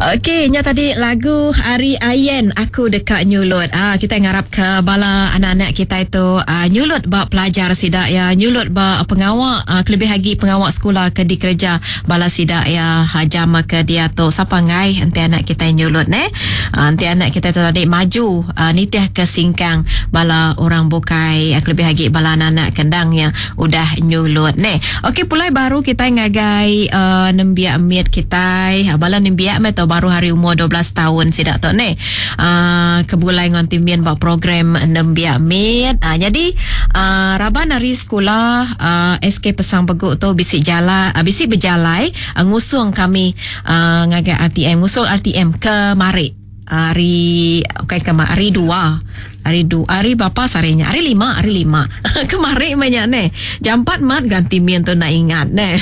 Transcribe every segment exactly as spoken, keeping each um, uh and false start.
Okey, nya tadi lagu Ari Ayen Aku Deka Nyulut. Ah, kita ngarap ke bala anak-anak kita itu uh, nyulut ba pelajar sida ya, nyulut ba pengawa uh, kelebih lagi pengawa sekolah ke dikerja bala sida ya jam ke dia tu. Sapa ngai enti anak kita nyulut ne? Uh, enti anak kita tu tadi maju uh, nitih ke singkang bala orang bukai, uh, kelebih lagi bala anak-anak kendang yang udah nyulut ne. Okey, pulai baru kita ngagai uh, nembiak mit kita, bala nembiak mit tu baru hari umur dua belas tahun sidak tu ne. Uh, kebulai ngan timin ba program nembiak mit. Uh, jadi uh, raban hari sekolah uh, S K Pesang Beguk tu bisi jala, uh, bisi berjalai uh, ngusung kami uh, ngagai R T M, ngusung R T M ke Marik. Hari okey ke hari dua. Hari du, hari bapa sarinya? Hari lima, hari lima. Kemarin banyak ne. Jam empat mat ganti min tu nak ingat ne.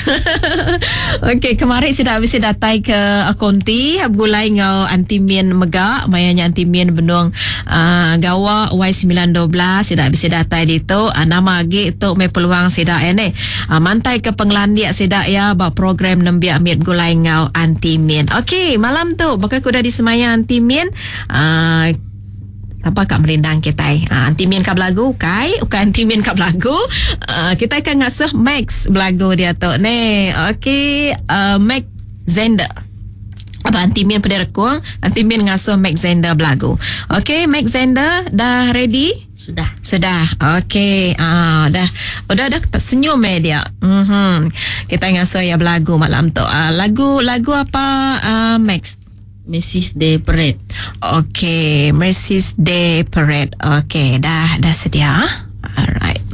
Okey, kemarin sudah habis datai ke konti gulai ngau anti min mega, mayanya anti min benung uh, gawa Y sembilan dua belas sudah habis datai di tu. Uh, nama agi tu me peluang sida ya ne. Uh, mantai ke penglandiak sida ya ba program nembiak mit gulai ngau anti min. Okey, malam tu bakal kuda di semaya anti min. Uh, apa kak merindang kita? Ha, anti min kak belagu, kai? Bukan anti min kak belagu. Uh, kita akan ngasuh Max belagu dia tu ni. Okey, uh, Max Zender. Apa anti min pada rekung? Anti min ngasuh Max Zender belagu. Okey, Max Zender dah ready? Sudah. Sudah. Okey. Ah, dah. Udah dah senyum eh dia. Mhm. Kita ngasuh ya belagu malam tu. Uh, lagu, lagu apa, uh, Max? Mercy's Day Parade. Okey, Mercy's Day Parade. Okey, dah, dah sedia. Alright.